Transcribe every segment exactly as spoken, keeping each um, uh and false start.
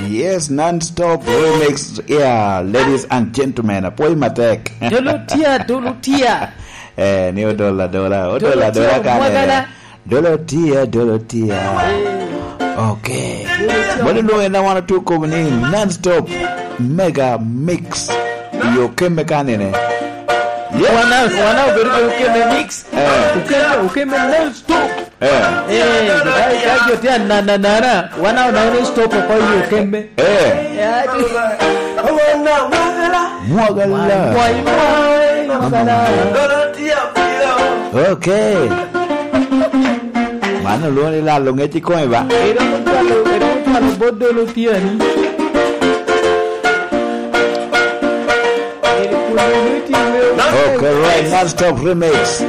Yes, non-stop remix. Yeah, ladies and gentlemen, apwoyo matek. Dolo tia, dolo tia. Eh, ni odol adola, odol Dolo adola tia, kane. Mwagala. Dolo tia, dolo tia. Eh. Okay. Dolo tia. Mano nwoŋo en a wan otye okobo ni non-stop mega mix. Yo kemme kanene. Yeah. Wana, wana obedo kede okeme mix. Eh. Okeme, okeme non-stop. Eh. Eh, ka, ka jo tye anananana, wan a onongo stop oko i okeme. Eh. Eh, ati. Mwagala. Mwai, mwai, mwai, mwagala. Okay. Mano lwongo ni lalo ŋec i kome ba? Eromo twalo, eromo twalo bot dolo tyani. Okay, right, non-stop remix.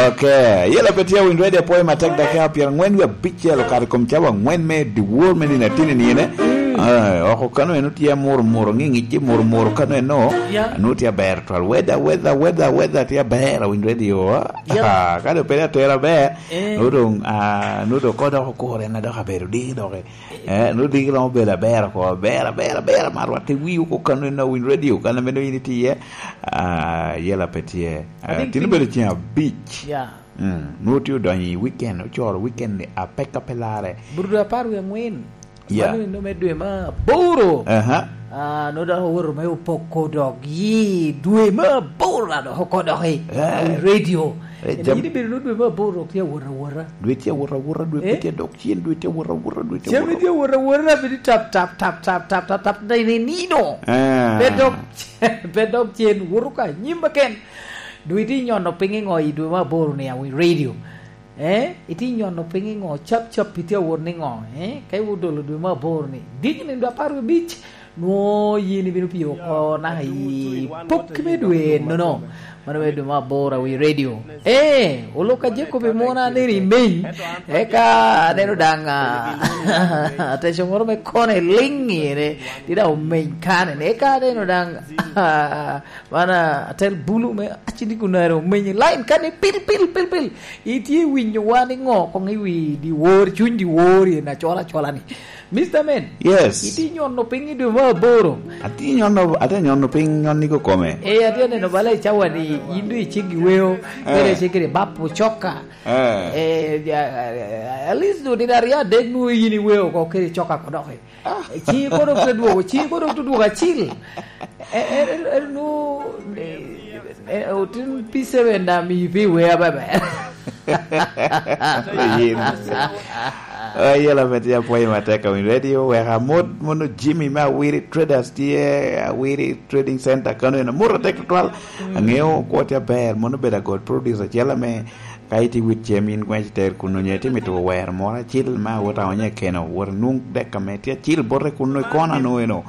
Okay, yela pe tye winy ready apoyo matek dakika pyerangwen wie abicel okato i kom cawa angwen me dyewor me nino atini ni ene. Eh, oko kano eno tye muro muro, ŋiŋic tye muro muro kano eno. Yeah. Anu tye aber twal. Weather, weather, weather, weather tye aber, winy ready o. Yeah. Ah, ka do pede atera aber. Eh. Nu dong, ah, nu dong ko dok okure na dok abedo diki dok. Eh, nu diki romo bedo aber oko, aber, aber, aber, ma rwatte wi oko kano eno winy radio, kano meno in itye, ah, yela pe tye. Ah, I think tin obedo ceng abic. Yeah. Mm, nu tye odonyo i weekend, ocoro weekend ni apeka pe lare. Brudo apar wie angwen. Yeah. Mano eno me dwe ma aboro. Aha. Ah, nu dok owoto me opoko dok yi dwe ma aboro la dok oko dok i, yeah, i radio. Eh, jam- Eni bedo nu dwe ma aboro dok tye awota awota. Dwe tye awota awota, dwe pe tye dok cen, dwe tye awota awota, dwe tye awota. Cen tye awota awota, bedo tap, tap, tap, tap, tap, tap, tap, na i nino. Ah. Pe dok, pe dok cen, woto ka nyim keken. Dwe itye nyono piny i ŋo i dwe ma aboro ni awi radio? Eh? Itye nyono piny i ŋo? Cap cap itye awot ni ŋo? Eh? Ka iwot dolo dwe ma aboro ni, diki ni dwe apar wie abic, nwo yin ibino pio oko naka i pokki me dwe nono. Mano me dwe ma aboro awi radio. Eh, olo ka Jacob i mona aneno i meny. Eka aneno daŋ, ah, ateco moro me kone liŋ ire. Tye daŋ omeny kane. Eka aneno daŋ, ah, man, ah, atel bulu me acidi kunare omenyi line kane pil, pil, pil, pil. Itye winyo wa ni ŋo koŋ i wi dyewor, cuny dyewor i na cola cola ni. Mister Men. Yes. Itye nyono piny i dwe me aboro. Atye nyono, atye nyono piny nyonni kokome. Eh, atye neno bala i cawa ni in dwe icik i weo, eh, kede icik kede bap ocoka. Eh. Eh, ya, at least dwe nino aryo adek nwoŋo in i weo oko kede coka kodoki. Ah. Cii kono dok te dwogo, cii kono dok te dwogo acil. Eh, eh, eh, eh, nu, eh, eh, otin P seven da mi pi wea bebe. Yin. Ayela meti apwoyo matek awiny radio, weka mot mono Jimmy me Awiri Traders tye, Awiri Trading Center kano en amot atek tutwal. Mm. Angeo kwo tye aber, mono bedo agod producer acel ame Ka itye wit cem in gwen iter kun onyo itye mito wero moro acil ma awot aonyo i keno, wot inwoŋ dek ame tye acil bote kun i kona no eno.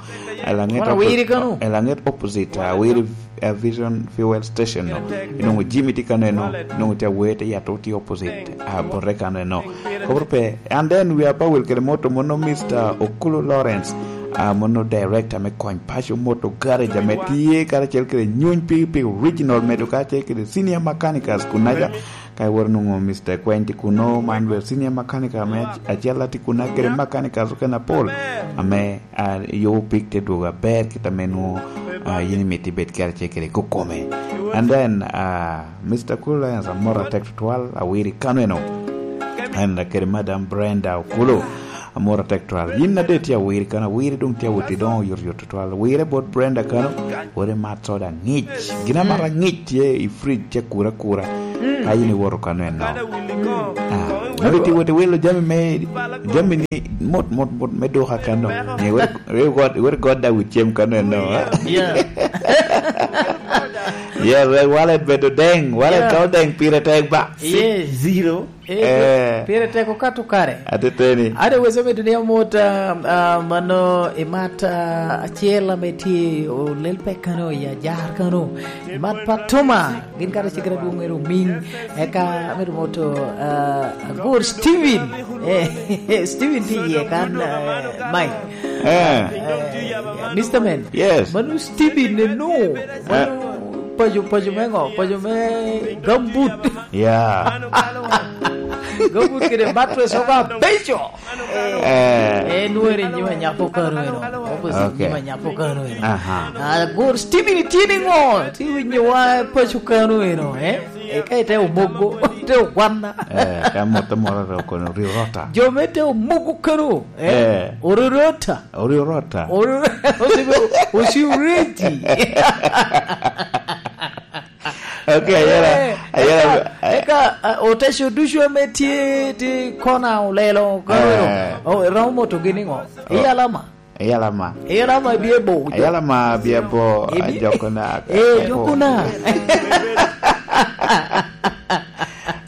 Elaŋet Moro oppo-, wiri kano. Elaŋet opposite, ah, Wiri, ah, Vision Fuel Station no. Inwoŋo Jimmy tye kano eno, inwoŋo tye awer tye yato tye opposite, ah, bote kano eno. Kobro pe, and then we are power kede moto mono Mister Okulu Lawrence, ah, mono director me kony paco moto garage ame tye karacel kede nyuny piki piki original medo kacel kede senior mechanicals kunaca. Ka iwoto nwoŋo Mister Kweny tye kuno, man bene senior mechanic ame ac-, acel tye kuno, kede mechanic okene apol ame, ah, yubo pik te dwogo aber kit ame nwoŋo, ah, yin imito ibed kede acel kede kokome. And then, ah, Mister Cool Lions amor atek tutwal, awiri kano eno. And kede Madam Brenda Okulu. Amor atek twal. Yin ade tye awiri kano, awiri dong tye awot i doŋo yot yot twal. Wire bot Brenda kano, wot imat soda aŋic. Gin amato aŋic tye i fridge tye kura kura. Ka yin iwoto kano eno. Ah, wot iti wot iwilo jami me, jami ni mot, mot, mot me duka kano. Ni wot, wot, wot, wot god da wit cem kano eno, ah. Yeah. Yeah, well, wallet bedo deng, wallet Yeah. ka odeng pire tek ba. Yes. Zero. Eh, Eh. Pire tek okato kare. Ateteni. Ade wese medo ni amot, ah, ah, mano imat, ah, acel ame tye olel pek kano i ajar kano. Imat Patoma, gin kara cigera dwong ero Ming. Eka medo moto, ah, Agor Steven. Eh, Steven tye iye kan, ah, Mike. Eh. Eh, Mister Man. Yes. Mano Steven eno. Eh. Mano paco, paco me ŋo? Paco me gambut. Yeah. Gambut kede mattress oga beco. Eh. Eh, nweri nyima nyako kano eno. Opposite. Okay. Nyima nyako kano eno. Aha. Ah, gur Steven itye niŋo? Ti winyo wa paco kano eno, eh? E ka ite omogo, ite ogwanna. Eh, ka moto moro ro kono ri rota. Jo me te omogo kano, eh? Eh. Ori rota. Ori rota. Ori, osi, osi ready. Okay, ayera, eh, ayera, eka, eka, ah, oteco ducu ame tye, tye kona olelo, ka eh, o, romo motogi niŋo? Oh. Iyalama. Iyalama. Iyalama bie bo. Iyalama bie bo, ah, jokona. Eh, jokona.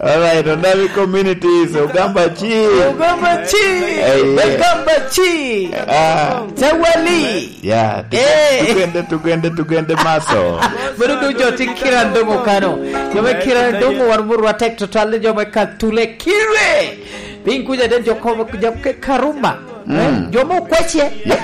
All right, Onami communities, Ogamba chi. Ogamba chi. Eh, yeah. Ogamba chi. Ah. Tawali. Ya, tugende, eh, tugende, tugende, tugende maso. Meno doŋ jo ti Kiran doŋ okano. Jo me Kiran doŋ wan murwa tek tutwal ni jo me Katule Kire. Piny kuca den jo ko-, jo ke Karumba. Mm. Eh, jo mo okwace. Ya.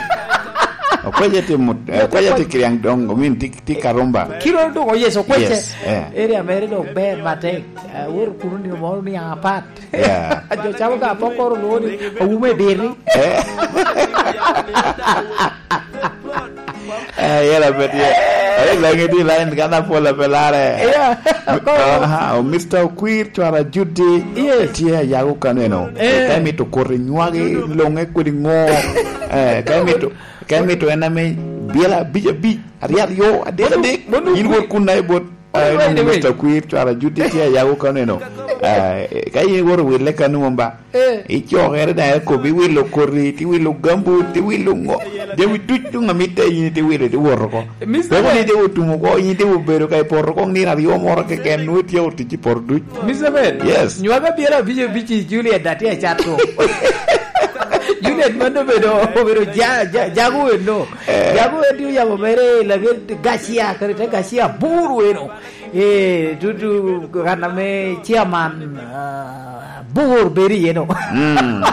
Okwace ti mut-, eh, okwace ti Kiran doŋ, I mean, ti, ti Karumba. Kiran doŋ, oh yes, okwace. Yes, eh. Area mere doŋ ber matek. Eh, woro kuno ni moro ni apat. Yeah. Jo camo ga pokoro lwongo ni owumo i diri. Eh. Eh, yela pe tye. Ai, langi di line kan apol ape lare. Yeah. Aha, o Mister Okwir, cwara Judy. Yes. Tye a yago kano eno. Eh. Ka imito koti nywagi, loŋe kodi ŋo. Eh, ka imito, ka imito en ame biela abic abic, aryo aryo, adek adek. Mono, mono in wot kun na ibot. Ah, right away. Mister Kwir, cwara Judy tye a yago kano eno. Ah, eh, ka in iwoto wille kano mom ba? Eh. Icokere daŋ ekobi iwilo koti, tiwilo gambut, tiwilo ŋo. Jami duc doŋ amitte in itiwilo, itiwoto oko. Mister Peko ni Ben. Ite otum oko, in ite obedo ka ipoto oko nino aryo moro keken, nwoŋo ityeko tic i poto duc. Mister Ben. Yes. Nywaka byela abic abic i Juliet, atye acato. Juliet mano obedo, obedo ja-, ja-, jago eno. Eh. Jago en tye oyabo mere i laget Gacia, kede te Gacia abur weno. Eh, tutu kan ame chairman, ah, abur bedo iye no. Mm.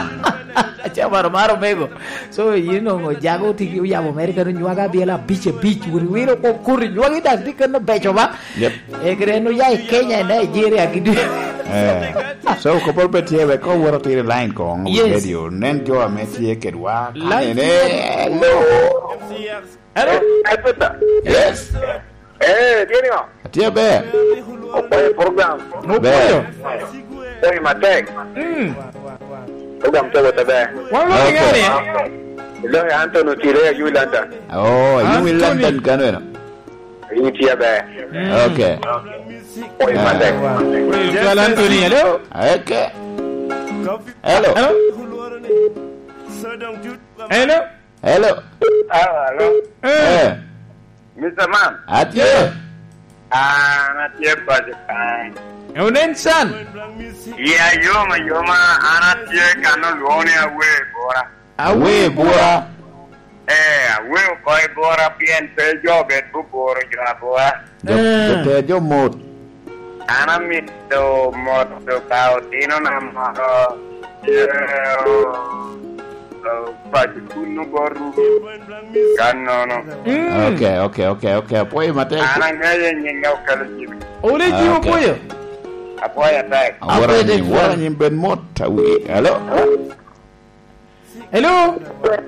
Chairman omaro mego. So, yin ongo jago tye oyabo mere kano nywagi abyela abic abic, wot iwilo oko koti, nywagi daŋ tye kano beco ba. Yep. Eh, kede en oya i Kenya, i Nigeria, gidi. Eh. So, kopol pe tye, wek owoto tiro i line koŋ, yes, radio. Nen jo ame tye kedwa. Line. Kanene, hello. Hello. Eh, Peter. Yes. Eh, tye niŋo? Atye ber. Opwoyo program. Opwoyo. Ber. Opwoyo matek. Mm. Program te wote ber. Wan lo. Okay. Ngani? Lo Anthony Otile, ayu London. Oh, ayu Anthony. London kano eno. Ayu tye ber. Mm. Okay. Opwoyo matek. Ah. Well, Anthony, hello? Okay. Hello? Hello? Hello? Hello? Ah, hello? Eh. Eh. Mister Man. Atye. An atye paco kan. Eh, onen can? Iya yom ayoma, an atye kan olwoŋo ni Awe Bura. Awe Bura. Eh, Awe oko i Bura pien pe jo obed buburo jo abura. Jo, eh, jo te jo mot. An amito moto ka otinona moro, eh, o-, o-, paco kuno bot Rubi. Kannono. Mm. Okay, okay, okay, okay. Apwoyo matek. An aŋeyo nyinge Okelo Jimmy. Ole Jimmy. Okay. Apwoyo. Apwoyo atek. Awora. Apwoyo anyim, atek. Wora anyim bed mot. Awi. Hello? Hello?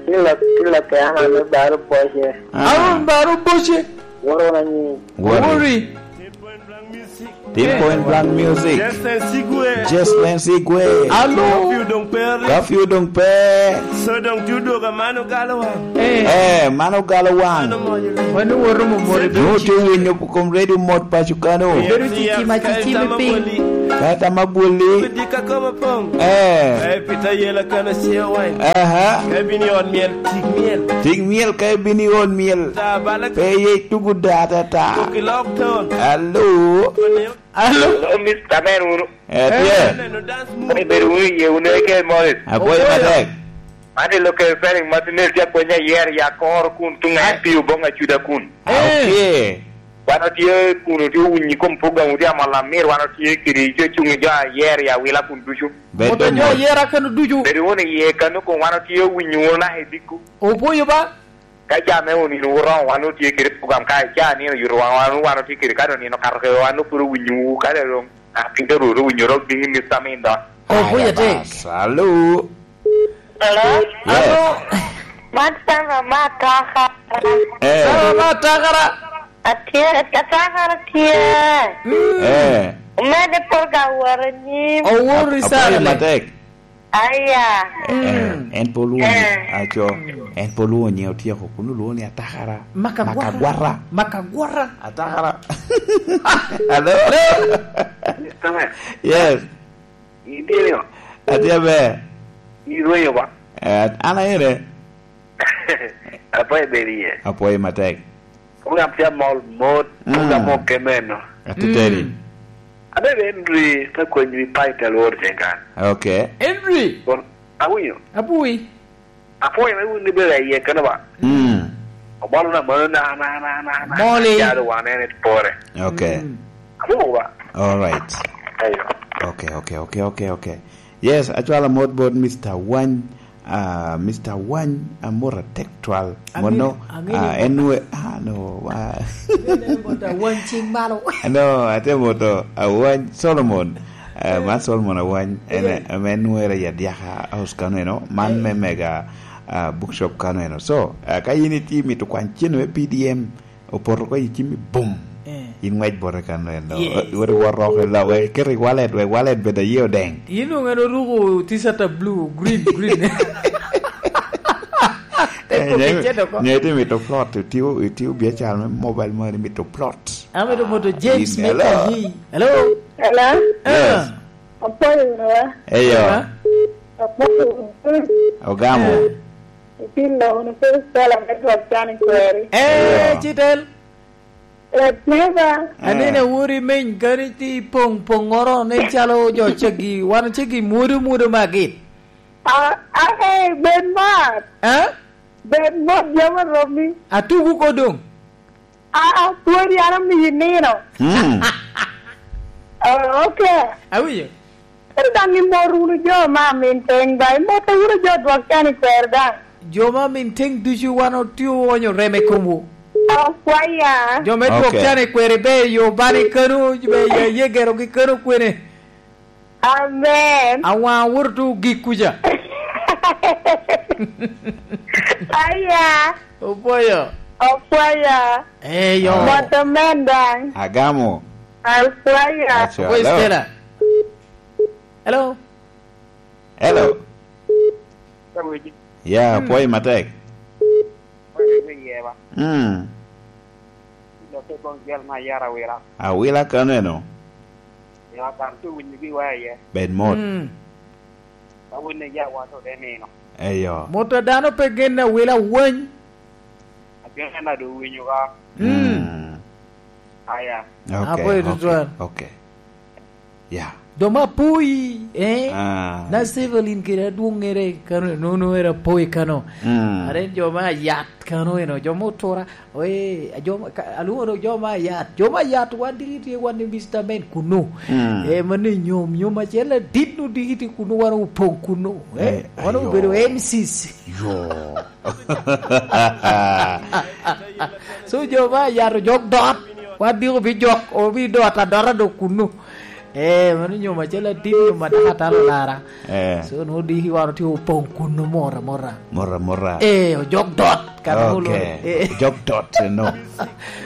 Kilo, kilo ke Aaron Baro Boche. Ah. Aaron Baro Boche. Woro na ni. Wori. Wori. Three Point Blank Music. Justin Sigwe. Justin Sigwe. Alo. Curfew dong pe ri. Curfew dong pe. So dong ti odwogo a mano galo waŋ. Eh. Eh, mano galo waŋ. Mano moyo. Mano woro mo moro. Nwoŋo tye winyo kom redio mot paco kano. Bedo cici ma cici me piny. Kae tam abwoli. Dika kobo poŋ. Eh. Eh, pita yela kana ciyo wany. Aha. Ka ibino i ot myel, tik myel. Tik myel ka ibino i ot myel. Ta bala. Pe ye tugu da ta ta. Tuki lok ton. Alo. Alo. Alo, Mister Ben wunu. Eh, tye. Eh, neno dance move. Ibedo wunu i ye wunu eke Morris. Apwoyo matek. Man i local spelling ma tinel tye akwenya yer ya koro kun tuŋ a M P Oboŋ Acuda kun. Ah, eh, okay. Wan otye kun otye owinyi kom program otye amol amir, wan otye kede jo cuŋ i jo a yer ya wila kun ducu. Bedo mot. Moto jo a yer akano ducu. Bedo wunu iye kano kun wan otye owinyi wunu naka i dikku. Opwoyo ba. Ka ca me onino oromo, wan otye kede program, ka ca nino oyuto wan, wan, wan otye kede, ka onino okato kede, wan pwod owinyowu, ka dong atin te Rwot owinyo dok bino i Mister Min dok. Oh, Aya kuya tek. Bas, alo. Hello? Yes. Alo. Man Sara ma Atakara. Eh. Sara ma Atakara. Atye, Atakara tye. Mm. Eh. Omedde pol ka wot anyim. Owor Ap-, i Sara apwoyo le. Matek. Aya. Eh, eh, mm, en pol wun, eh, aco, en pol wun nye otyeko, kun olwoŋo ni Atakara. Makagwara. Makagwara. Makagwara. Atakara. Alo? Alo? Mister Man. Yes. Itye nio? Atye aber. Irwenyo ba? Eh, an aere. Apwoyo bedo iye. Apwoyo matek. Program tye amol mot, mm, program mok kemeno. Atiteni. Mm. Abe Henry ka kony wi pai te lworo tyen kan. Okay. Henry! Bon, awinyo. Abui. Apwoyo me wun ibedo aye keno ba? Mm. Obalo na mano na, na, na, na, na. Moli. Jalo wan en pore. Okay. Mm. Abu ba? All right. Ayo. Okay, okay, okay, okay, okay. Yes, acwalo mot bot Mister Wany. Ah, Mister Wany, amot atek twal. Ang'e-, mono, ang'e ah, ni en we-, ah, no, wa. Ang'e ni mot Awany cing malo. No, ate moto Awany Solomon. Eh, eh, man Solomon Awany, en, eh, ame nwer i Adyaka House kano eno, man, eh, me Mega, ah, Bookshop kano eno. So, ah, ka in itye mito kwany cen me P D M, opoto oko i cimmi, bum. Eh. In ngwec bote kan eno. Yes. Wot iwot oko i lok, wek iket i wallet, wek wallet bed aye odeng. In onge en oruko t-shirt a blue, green, green. Te, eh, kuki nye, cen oko. Nye ite mito plot, itio, itio biacara me mobile money, mito plot. Amito moto James. Ah, in, me hello. Kayi. Hello? Hello? Yes. Ah. Apwoyo wunu wa? Eyo. Ah. Apwoyo wunu. Ogamo. Eh. Ipilo wunu Kricito me gwok can i kweri. Eh, yeah. Citel. Latneva. Anene, eh, wori meny kani ti poŋ poŋŋoro nen calo jo ceggi, wan ceggi mwodo mwodo magi. Ah, ah, eh, bed mot. Eh? Bed mot, jami oromi. Atugu ko doŋ. Ah, ah, pwod yam omiyi nino. Mm. Oh, okay. Awinyo. Ento daŋ imot wunu jo ma amin teŋ ba, imotte wunu jo dwok can i kwero daŋ. Jo ma amin teŋ ducu wan otye oonyo rem i komwu. Akwaya. Jo me dwok, okay, can i kwero ibe i yo bani kano, ibe i ye gerogi kano kwene. Amen. Awaŋ owoto tuŋ ogik kuca. Aya. Opwoyo. Opwoyo. Eyo. Mot omen daŋ. Agamo. Opwoyo. Aco, opwoyo, hello. Stella. Hello. Hello. Ka wegi. Ya, mm, pwoyo matek. Pwoyo me yeba. Mm. Ilokke boŋ jel ma yara awila. Awila kano eno. Ya, kan tu winyo gi waya ye. Bed mot. Mm. Ka winyo ya wato de nino. Eyo. Mot a dano pe genne awila wany. Ageno na do winyo ka. Mm. Mm. Aya. Okay, apwoyo, okay, tutwal. Okay. Ya. Jo ma apoyi, eh? Ah. Na Sevelin kede adwoŋŋere kano, nono era apoyi kano. Mm. Are jo ma ayat kano eno, jo ma otura, eh, jo ma, ka, alwoŋo jo ma ayat. Jo ma ayat wan diki tye wan i Mister Men kuno. Mm. Eh, mano i nyom, nyom acel adit no diki tye kuno, wan opoŋ kuno. Eh, eh, wan ayo, obedo M Cs. Yo. So, jo ma ayat ojok dot, wan diki obi jok, obi dot adota do kuno. Eh, mano nyom acel atin, nyom adek atalo lara. Eh. So, nwoŋo diki wan otye opoŋ kuno mora mora. Mora mora. Eh, ojok dot, kara molo. Okay. Eh. Ojok dot, no.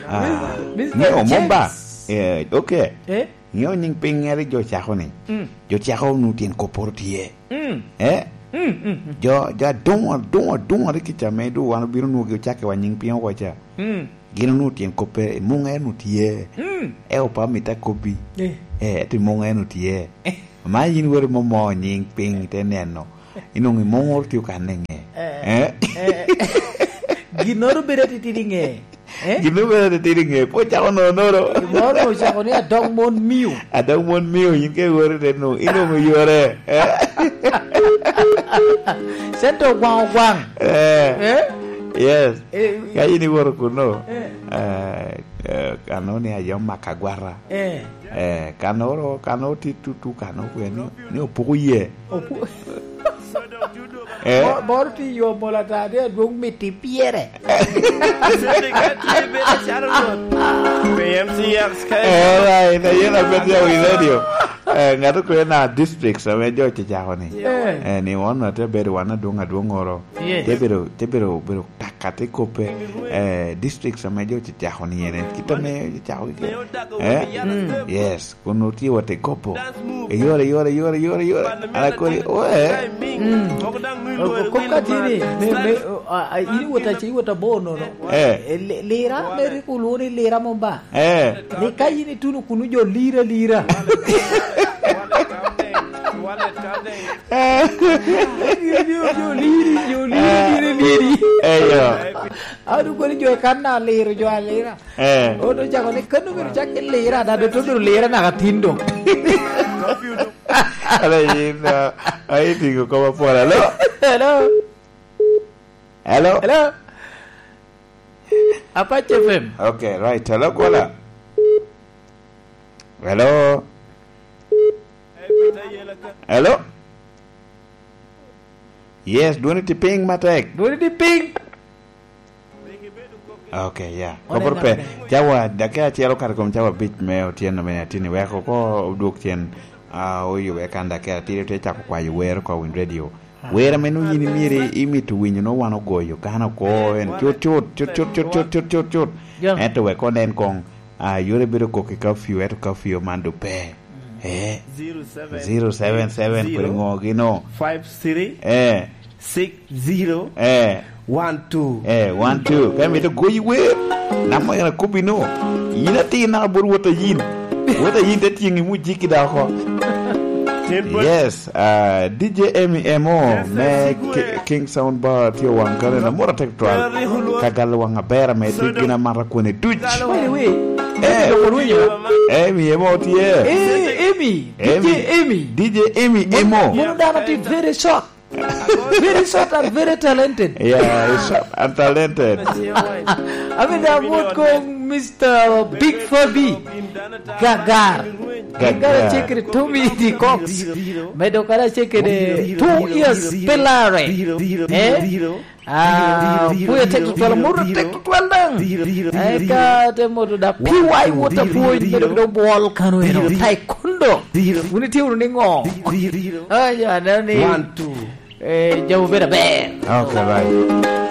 Ah, Mister James. Ŋeo mom ba? Eh, okay. Eh? Ŋeo nyiŋ piny ŋeri jo cako ni. Mm. Jo cako nu tyen kopporo tye. Mm. Eh? Mm, mm, mm. Jo, jo aduŋo, aduŋo, aduŋo rik kica me du wan obino nwogi ocakke wa nyiŋ piny oko ca. Mm. Gin onwoŋo tyen koppe, muŋ en otye. Mm. E opa mita kobbi. Eh. Eh, ento muŋ en otye. Eh. Ma yin weri momo nyiŋ piny te neno. Inwoŋo muŋ otye kan i ŋe. Eh. Eh? Eh. Ginnoro bedo atitidi i ŋe. Eh? Ginnoro bedo atitidi i ŋe. Pwod cako nono. Ginnoro ocako ni adog mon mio. Adog mon mio, yin ke weri te nu. Inwoŋo yore. Eh? Cente ogwaŋ ogwaŋ. Eh. Eh? Yes. Eh, ka in iwoto kuno, eh, eh, kano ni ayom mak agwata. Eh. Eh, kano ro, kano ti tutu, kano kwe ni, ni opuko ye. Opu- Eh? Mo-, moro tye i yo mol ata, tye adwoŋ miti pyere. P M C X K. All right, ayen abed ya wi radio. Eh, ŋato kwena districts ame jo ocecako ni. Yeah. Eh, ni wan ate bedo wan adwoŋ adwoŋoro. Yes. Te bedo, te bedo, bedo taka te kope, eh, districts ame jo ocecako ni ene. Kit ame ocecako gi. Eh? Mm. Yes. Kun otye wot i kopo. Eyore, eyore, eyore, eyore, eyore. An akoni, oe. Mm. Kop ka tye ni, me, me, a, a, in iwot ace, iwot abor nono. Eh. E, li-, lira, me rik olwoŋo ni lira mom ba. Eh. Ni ka in ituno kunu jo lira, lira. Eh. Jo liri, jo liri, liri, liri. Eyo. An okoni jo i kan na liro, jo alira. Eh. Odo cako ni kano biro cak ki lira, da do to biro lira naka tin do. Ala yin, ah, ai tingo koma pol. Hello? Hello? Hello? Hello? Apache F M. Okay, right. Hello, caller. Hello? Hello? Yes, dwoni ti piny matek. Dwoni ti piny. Okay, yeah. Wan Koporo pe. Cawa, dakika acel okato kom cawa abic me otyeno me atini. Weko ko odwok cen, ah, oyube kan dakika abic, te cako kwayo wer ko win radio. Ah. Wer ame nwoŋo yin imyero imito winyo nwoŋo wan ogoyo kan oko en. Cut, cut, cut. Ento wek onen koŋ, ah, yore bedo kok i curfew, ento curfew man do pe. Eh. Zero seven seven, kodi ŋo gino? Five three. Eh. Six zero. Eh. One two. Eh, one two. Ka imito goyi wer, namba en akobbi no. Yin atir naka bot wot a yin. Wot a yin te tyeŋi mujiki da oko. Yes, ah, D J Emmy Emo me Ki-, King Sound Bar tye waŋ kane na mora tek twal. Ka galo waŋ aber ame tye gin amata kwone duc. By the way, eh, Emmy Emo tye. Eh, Emmy. D J Emmy. D J Emmy Emo. Mono dano tye very short. Very short and very talented. Yeah, he's short and talented. I mean, I'm not going Mister Big Fabi. Gagar. Gagar. Gagar check it to me, the Cox. Medo kara check it, eh, two years pelare. Eh? Ah, puya tek tutwal, muru tek tutwal dang. Eka te moto da P Y water point, medo do bol kano eno, taekwondo. Wuni tye wunu ni ngo? Ah, ya, na ni. One, two. Eh, jabu bedo aber. Okay, right.